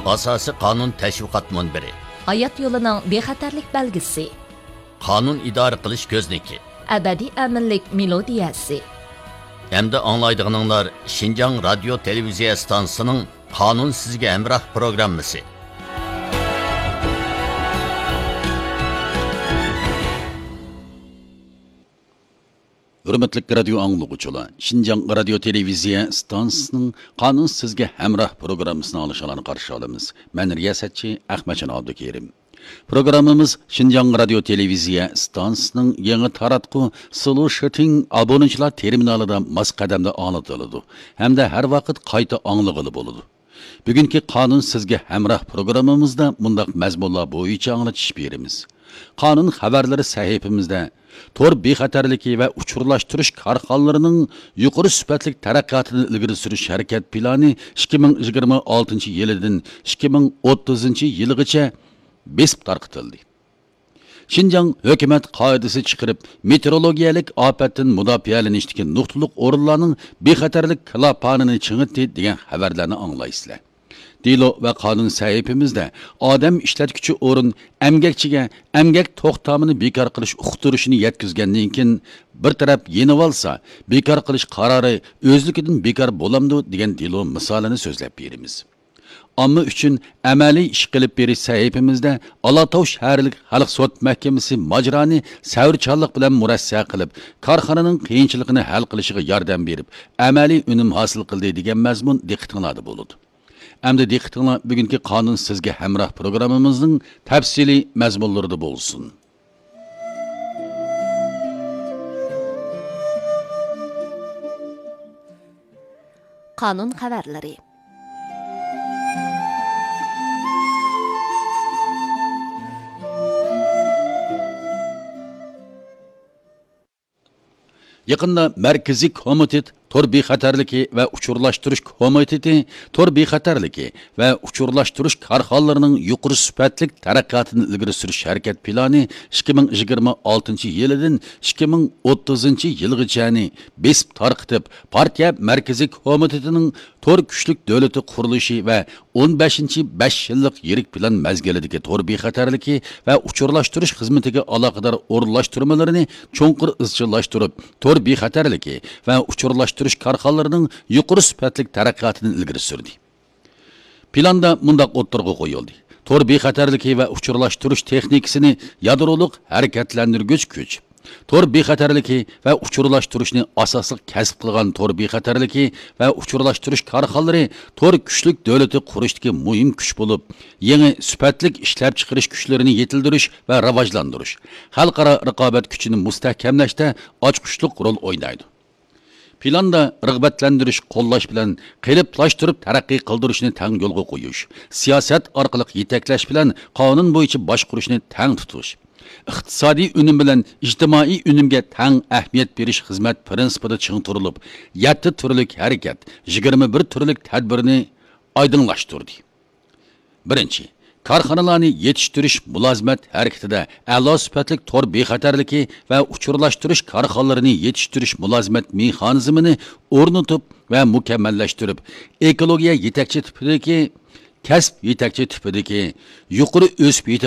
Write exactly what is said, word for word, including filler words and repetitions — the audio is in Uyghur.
ئاساسىي قانۇن تەشۋىقات مۇنبىرى. ھايات يولىنىڭ بىخەتەرلىك بەلگىسى. قانۇن ئىدارە قىلىش كۆزنىكى. ئەبەدىي ئەمىنلىك مېلودىيەسى. ئەمدى ئاڭلايدىغىنىڭلار شىنجاڭ رادىيو تېلېۋىزىيە ئىستانسىسىنىڭ قانۇن سىزگە ھەمراھ پروگراممىسى. ھۆرمەتلىك رادىيو ئاڭلىغۇچىلار، شىنجاڭ رادىيو تېلېۋىزىيە ئىستانسىسىنىڭ قانۇن سىزگە ھەمراھ پروگراممىسىنى ئاڭلىشىڭلارنى قارشى ئالىمىز. مەن رىياسەتچى ئەخمەتجان ئابدۇكېرىم. پروگراممىمىز شىنجاڭ رادىيو تېلېۋىزىيە ئىستانسىسىنىڭ يېڭى تاراتقۇ سلوشىتىڭ ئابونېنتلار تېرمىنالىدا ماس قەدەمدە ئاڭلىتىلىدۇ ھەمدە ھەر ۋاقىت قايتا ئاڭلىغىلى بولىدۇ. بۈگۈنكى قانۇن سىزگە ھەمراھ پروگراممىمىزدا مۇنداق مەزمۇنلار بويىچە ئاڭلىتىش بېرىمىز. قانۇن خەۋەرلىرى سەھىپىمىزدە تور بىخەتەرلىكى ۋە ئۇچۇرلاشتۇرۇش كارخانىلىرىنىڭ يۇقىرى سۈپەتلىك تەرەققىياتىنى ئىلگىرى سۈرۈش ھەرىكەت پىلانى ئىككى مىڭ يىگىرمە ئالتىنچى يىلىدىن ئىككى مىڭ ئوتتۇزىنچى يىلىغىچە بېسىپ تارقىتىلدى. شىنجاڭ ھۆكۈمەت قائىدىسى چىقىرىپ، مېتېئورولوگىيەلىك ئاپەتتىن مۇداپىئەلىنىشتىكى نۇقتىلىق ئورۇنلارنىڭ بىخەتەرلىك كىلاپانىنى چىڭىتتى دېگەن خەۋەرلەرنى ئاڭلايسىلەر. دېلو ۋە قانۇن سەھىپىمىزدە ئادەم ئىشلەتكۈچى ئورۇن ئەمگەكچىگە ئەمگەك توختامىنى بىكار قىلىش ئۇقتۇرۇشىنى يەتكۈزگەندىن كېيىن، بىر تەرەپ يېنىۋالسا، بىكار قىلىش قارارى ئۆزلۈكىدىن بىكار بولامدۇ دېگەن دېلو مىسالىنى سۆزلەپ بېرىمىز. ئامما ئۈچۈن ئەمەلىي ئىش قىلىپ بېرىش سەھىپىمىزدە ئالاتاۋ شەھەرلىك خەلق سوت مەھكىمىسى ماجىرانى سەۋرچانلىق بىلەن مۇرەسسە قىلىپ، كارخانىنىڭ قىيىنچىلىقىنى ھەل قىلىشىغا ياردەم بېرىپ، ئەمەلىي ئۈنۈم ھاسىل قىلدى دېگەن مەزمۇن دىققىتىڭلاردا بولىدۇ. ئەمدى دىققىتىڭلار بۈگۈنكى قانۇن سىزگە ھەمراھ پروگراممىمىزنىڭ تەپسىلىي مەزمۇنلىرىدا بولسۇن. قانۇن خەۋەرلىرى. يېقىندا مەركىزىي كومىتېت تور بىخەتەرلىكى ۋە ئۇچۇرلاشتۇرۇش كومىتېتى تور بىخەتەرلىكى ۋە ئۇچۇرلاشتۇرۇش كارخانىلىرىنىڭ يۇقىرى سۈپەتلىك تەرەققىياتىنى ئىلگىرى سۈرۈش ھەرىكەت پىلانى ئىككى مىڭ يىگىرمە ئالتىنچى يىلىدىن ئىككى مىڭ ئوتتۇزىنچى يىلغىچەنى بېسىپ تارقىتىپ، پارتىيە مەركىزىي كومىتېتىنىڭ تور كۈچلۈك دۆلىتى قۇرۇلۇشى ۋە ئون بەشىنچى بەش يىللىق يىرىك پىلان مەزگىلىدىكى تور بىخەتەرلىكى ۋە ئۇچۇرلاشتۇرۇش خىزمىتىگە ئالاقىدار ئورۇنلاشتۇرمىلىرىنى چوڭقۇر ئىزچىللاشتۇرۇپ، تور بىخەتەرلىكى ۋە ئۇچۇرلاشتۇرۇش كارخانىلىرىنىڭ يۇقىرى سۈپەتلىك تەرەققىياتىنى ئىلگىرى سۈردى. پىلاندا مۇنداق ئوتتۇرىغا قويۇلدى: تور بىخەتەرلىكى ۋە ئۇچۇرلاشتۇرۇش تېخنىكىسىنى يادرولۇق ھەرىكەتلەندۈرگۈچ كۈچ، تور بىخەتەرلىكى ۋە ئۇچۇرلاشتۇرۇشنى ئاساسلىق كەسىپ قىلغان تور بىخەتەرلىكى ۋە ئۇچۇرلاشتۇرۇش كارخانىلىرى تور كۈچلۈك دۆلىتى قۇرۇشتىكى مۇھىم كۈچ بولۇپ، يېڭى سۈپەتلىك ئىشلەپچىقىرىش كۈچلىرىنى يېتىلدۈرۈش ۋە راۋاجلاندۇرۇش، خەلقئارا رىقابەت كۈچىنى مۇستەھكەملەشتە ئاچقۇچلۇق رول ئوينايدۇ. پىلاندا رىغبەتلەندۈرۈش، قوللاش بىلەن قېلىپلاشتۇرۇپ تەرەققىي قىلدۇرۇشنى تەڭ يولغا قويۇش، سىياسەت ئارقىلىق يېتەكلەش بىلەن قانۇن بويىچە باشقۇرۇشنى تەڭ تۇتۇش، ئىقتىسادىي ئۈنۈم بىلەن ئىجتىمائىي ئۈنۈمگە تەڭ ئەھمىيەت بېرىش خىزمەت پىرىنسىپىدا چىڭ تۇرۇلۇپ، يەتتە تۈرلۈك ھەرىكەت، يىگىرمە بىر تۈرلۈك تەدبىرنى ئايدىڭلاشتۇردى. بىرىنچى، كارخانىلارنى يېتىشتۈرۈش مۇلازىمەت ھەرىكىتىدە ئەلا سۈپەتلىك تور بىخەتەرلىكى ۋە ئۇچۇرلاشتۇرۇش كارخانىلىرىنى يېتىشتۈرۈش مۇلازىمەت مېخانىزمىنى ئورنىتىپ ۋە مۇكەممەللەشتۈرۈپ، ئېكولوگىيە يېتەكچى تىپىدىكى، كەسىپ يېتەكچى تىپىدىكى، يۇقىرى ئۆسۈپ يېتىلىدىغان